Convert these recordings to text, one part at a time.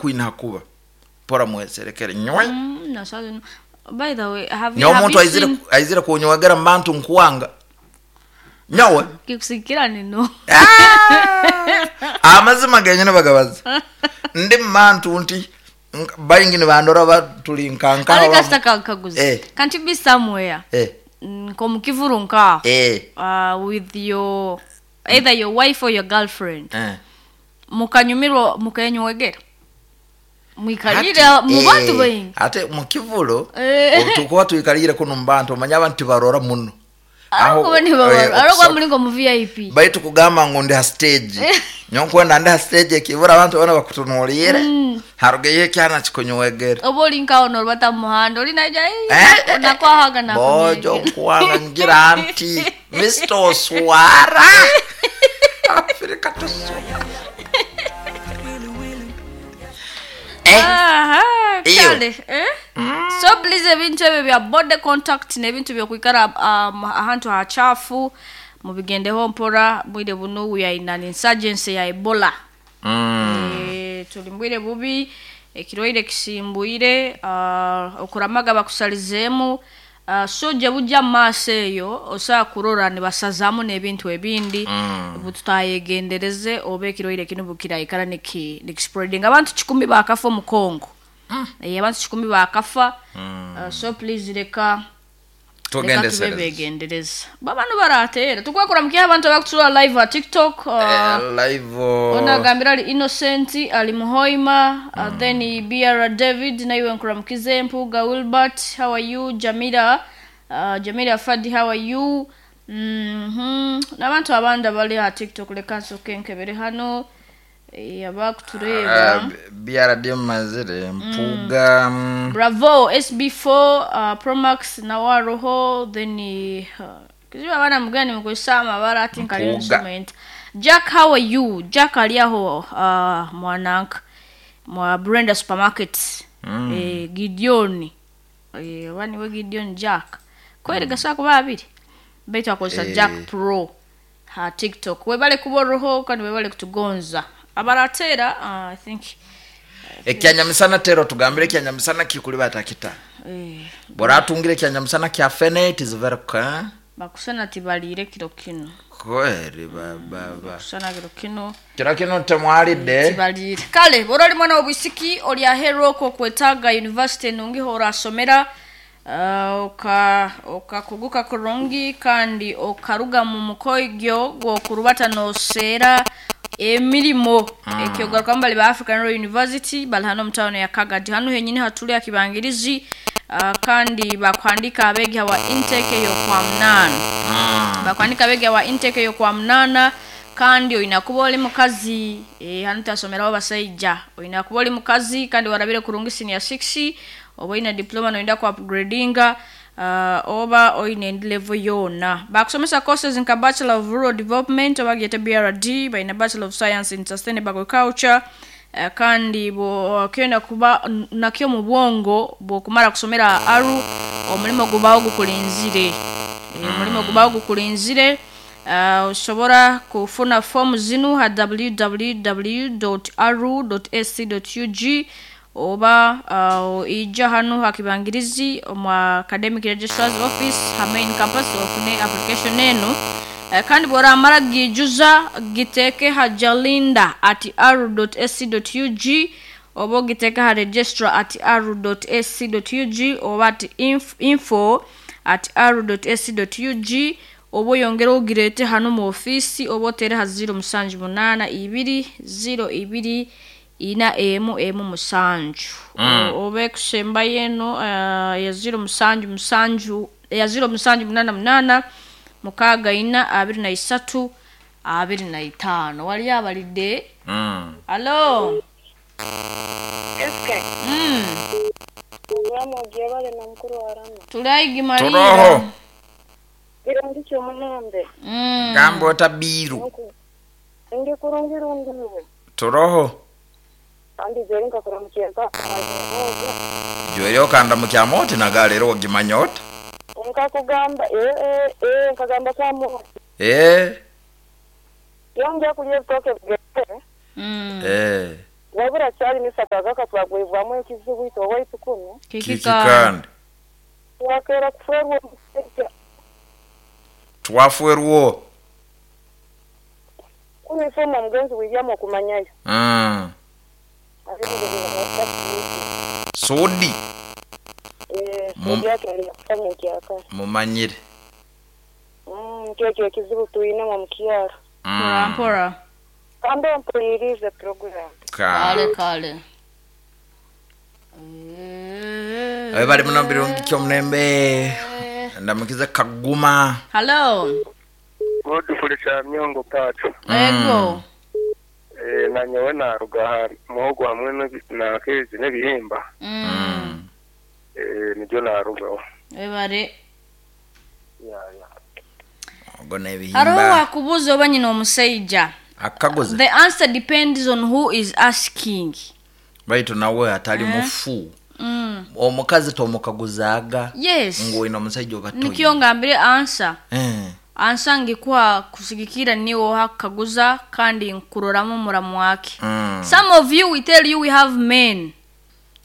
Kwina hakuba mpora mweserekere nywe. Na sasa, by the way, have you Nyowe have omuntu you aizire seen aizire kunywegera mu bantu nkuwanga nyowe. Kikusikira nino. Ah! Amazima genyine bagabaza ndi mubantu nti baingi nibandora batuli nkanka. Ali kasita kankaguza. Eh. Can't you be somewhere? Eh. Nko mukivuru nkaho. Eh. With your either your wife or your girlfriend. Eh. Mukanyumirwa mukenywegera. Mwikalire Hati, mu bantu eh, baingi. Ate mukivuro Eh. tukuba tuikalire kuno mubantu omanya abantu tibarora muno. Aho ni baba. Eh, Aho kwa mulingo mu VIP. Baitu kugamba ngu ndi ha stage, nyonkwenda ndi ha stage ekibura abantu bona bakutunuulire, harugeyo ekyana kikunywegera. Oba oli nkaho norubata mu muhanda oli naija. Eh, eh, Nakwahaga na. Bojo nkuwanga ngira nti Mr. Oswara Afrika tuswara. Eh, Aha, Iyo. kale, eh? So please, ebintu ebyo bya body contact n'ebintu byokwikara ahantu hachafu mubigendeho mpora. Bwire buno we are in an insurgency ya Ebola. Eh, tuli mbwire bubi, ekirwaire kisimbwire, okuramaga bakusalizeemu, so gye bujja mu maaso eyo osobola kurora nibasazamu n'ebintu ebindi. Bututayegendereze oba ekirwaire kino bukiraikara nikispreading. Abantu 1,000 bakafa omu Congo. Eh, abantu 1,000 bakafa. So please, reka tube tugendesereze. Begendereza babano baratera tukwekora mukiha abantu abakutura live a TikTok. Eh, live oh, Onagambira ali Innocent ali Muhoima, then BR David naiwe nkuramukize. Mpuga Wilbert, how are you? Jamila, Jamila Fadi, how are you? N'abantu abandi abali ha TikTok, reka nsoke nkebere hano, eh, abakutureba. BRD mazire Mpuga. Bravo SB4, Promax nawaroho, then kizibu abaana mugani mukozesa amabara ati nkali Mpuga. Instrument Jack, how are you? Jack ali aho, mwananka mwa Brenda Supermarket. Eh, Gideon, eh, oba niwe Gideon Jack kweri gasobola kuba abiri baitu akozesa. Eh. Jack Pro ha TikTok, webale kuba kandi webale kutugonza abaratera, I think. Ekyanyamisana tero tugambire ekyanyamisana kikuli batakita. Eh, Boratungire ekyanyamisana kya fene, it is very ka bakusana tibaliire kiro kino. Kweri ba ba ba. Bakusana kiro kino. Kiro kino temwalidde. Tibaliire. Kale bw'oba oli mwana w'obwisiki oli aheeru okwo okwetaaga university enungi horasomera, okakuguka kurungi kandi okaruga mu mukoigyo gwokurubata noseera emirimo, ekyogarukamu bali ba African Royal University bali hano mu town ya Kagadi, hano henyini hatuli akibangirizi, kandi bakwandika abeegi wa intake ey'okwa munaana. Bakwandika abeegi wa intake ey'okwa munaana kandi olina kuba oli mukazi. Eh, hano tasomeraho basaija. Olina kuba oli mukazi kandi warabire kurungi senior 6 oba olina diploma noyenda ku upgradinga, oba olina endi level yona. Bakusomesa courses nka Bachelor of Rural Development oba gyete BRD, balina Bachelor of Science in Sustainable Agriculture. Kandi bwokenda kuba nakyo mu bwongo bwokumara kusomera aru omulimu gubawo gukulinzire. Eh, omulimu gubawo gukulinzire. Osobola kufuna fomu zinu ha www.aru.ac.ug oba ija hano hakibangirizi omu academic registrar's office ha main campus ofune application eno. Kandi bworamara gijuza giteeke ha jalinda@aru.ac.ug oba ogiteeke ha registrar@aru.ac.ug oba at info@aru.ac.ug oba oyongere ogirete hano mu ofiisi oba otere ha 0782 02 4 1 1 7. Oba ekusembayo eno, ya 077 ya 0788 64 23 25. Waliyo abalidde. Alo. SK. Obulamu ogyebale na mukuru wa Rama. Tulaigi. Turoho. Malira. Kirungi kyomulembe. Gamba otabiiru. Ndi kurungi rundiwe. Turoho. Kandi jeri nkakuramukyeka. Jweri okanda mukyama oti nagalero ogimanya ota. Nkakugamba eh eh eh nkagamba kwamu. Eh. Yongera kulya ebitooke bigere. Eh. Wabura kyali nisakagaka twagwibwamu ekizibu itwe owaitu kunu. Kiki Kiki kandi? kandi? Twakera kuferwa omusajja. Twaferwo. Kunu ifoma omugenzi William okumanyayo. Mm. Sudi. Mumanyire. Mumanyire. Kyekyo ekizibu twinemu omu kyaro. Mpora mpora. Kambe mpulirize program. Kale kale. Abe bali muno birungi kyomulembe. Ndamukize Kaguma. Hello. Godfrey Kyamyongo Pacho. Ego. Nanyowe naruga ha muhogo hamwe na kezi n'ebihimba. Nibyo narugaho. Ebare. Ya ya. Ogo n'ebihimba. Hariho wakubuuza oba nyina omusajja. Akaguza. The answer depends on who is asking. Baitu nawe atali mufu. Omukazi tomukaguzaaga. Yes. Ngu omusajja oba toyina. Nikyo ngambire answer. Ansa ngikuha kusigikira niwo hakaguza kandi nkuroramu muramu wake. Some of you we tell you we have men.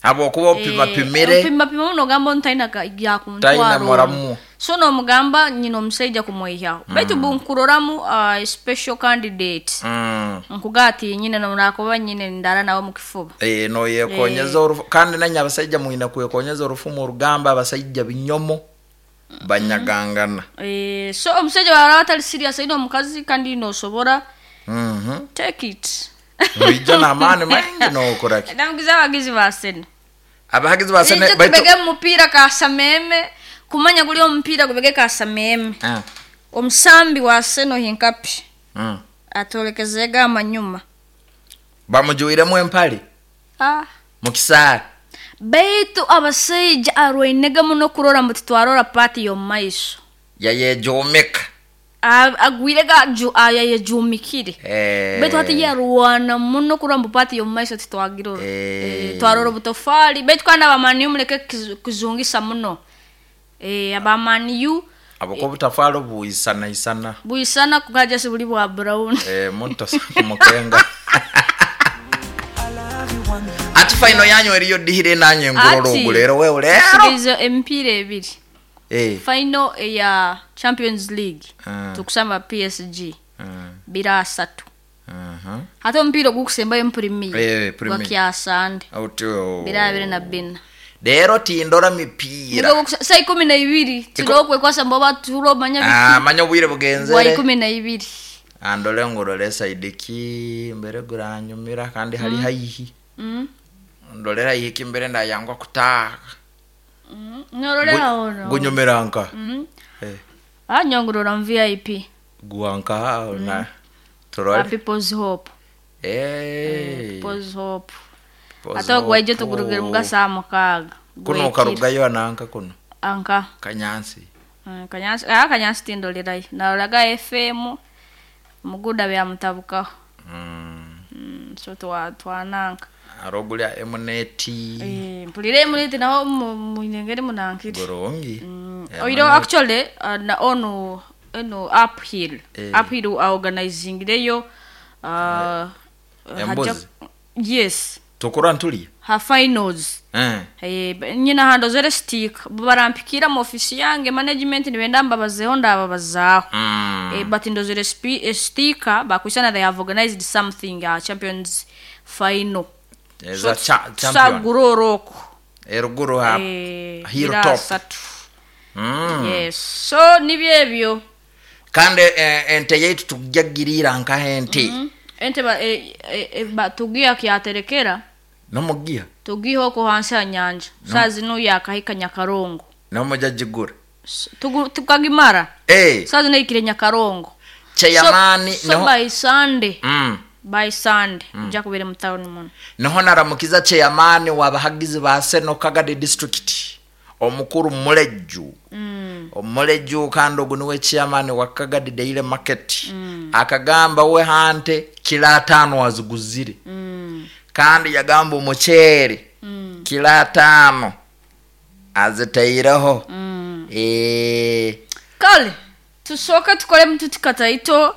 Habwokuba opimapimire. Opimapima muno ogamba ntaina Taina yakuntwara. muramu. So nomugamba nyina omusajja kumwihaho. Baitu bunkuroramu special candidate. Nkugati nyina nakuba nyine ndara nawe mu kifuba. Noyekonyeza orufu kandi nanye abasajja mwina kwekonyeza orufu mu rugamba abasajja binyomo banyagangana. So omusajja waraba atali serious aine omukazi kandi nosobora take it. Noija n'amaani maingi nokoraki. Ndamugiza abagizi ba Sena. Abahagizi ba Sena Ije tubege mupiira kasameme kumanya guli omupiira gubege kasameme. Omusambi wa Sena Hinkapi. Atolekezega amanyuma. Bamujuiremu empali. Mukisaara. Baitu abasajja arwainega muno kurora mbu titwarora pati y'omumaiso. Yayejomeka. Agwirega yayejumikire. Baitu hati yarwana muno kurora mbu pati y'omumaiso titwagirora. Twarora obutofali. Baitu kandi abamaniyu muleke kuzungisa muno. Abamaniyu abako obutafali buisana isana. Buisana kukaja si buli bwa brown. Muntu kumukenga. Ati final yanyu eriyo dihire nanye nguroro ogulero wewe lero. Tusigize emipiira ebiri. Final ya Champions League. Tukusamba PSG. 3. Hata omupiira ogukusembayo mu Premier. Gwakyasande. 2024. Lero tindora mipira. Nigo saa 12 tirokwekwasa mboba turomanya biki. Manya obwire bugenzere. Gwa 12. Andole ngurole saidiki mbere guranyumira kandi hali haihi. Ndolera ihiki mbere ndayangwa kutaha. Norolera ono. Gunyumira nka. Nyongurora mu VIP. Guanka na turole. People's Hope. People's Hope. Ate gwaije tugurugire mu saa 6. Kuno karugayo ananka kuno. Anka. Kanyansi. Kanyansi, Kanyansi tindolerayo. Narolaga FM muguda bya mutabukaho. So twananka. Arogulya emuneti. Mpulire emuneti naho muinengeri munankiri. Gorongi. Oiro actually na ono eno uphill. Uphill organizing leyo embuzi. Yes. Tukura ntuli. Ha finals. Nyina hando zere stick barampikira mu office yange management nibenda mbabazeho ndababazaho. But ndozere sticker bakusana they have organized something champions final. Eza champion. Saguroroko. Eruguru ha hilltop. Yes. So nibyebyo. Kandi ente yetu tujagirira nka ente. Ente ba tugiya kyaterekera. Nomugiya. Tugiho ko hansi ya nyanja. Sazi no yakahika Nyakarongo. Nomujagigura. Tukagimara. Sazi no ikire Nyakarongo. Cheyamani so by Sunday. By Sunday nja kubere mu town muno. Niho naramukiza cheyamani wabahagizi ba Seno Kagadi district. Omukuru Muleju. Omuleju kandi ogu niwe chairman wa Kagadi Daily Market. Akagamba we hante kila 5 waziguzire. Kandi yagamba omuceere kila 5 azitaireho. Kale tusoka tukole mtutikataito.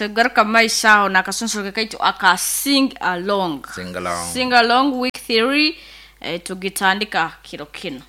Tugaruka mumaiso aho nakasonsoro kaitu aka sing along. Sing along. Sing along week 3, tugitandika kiro kino.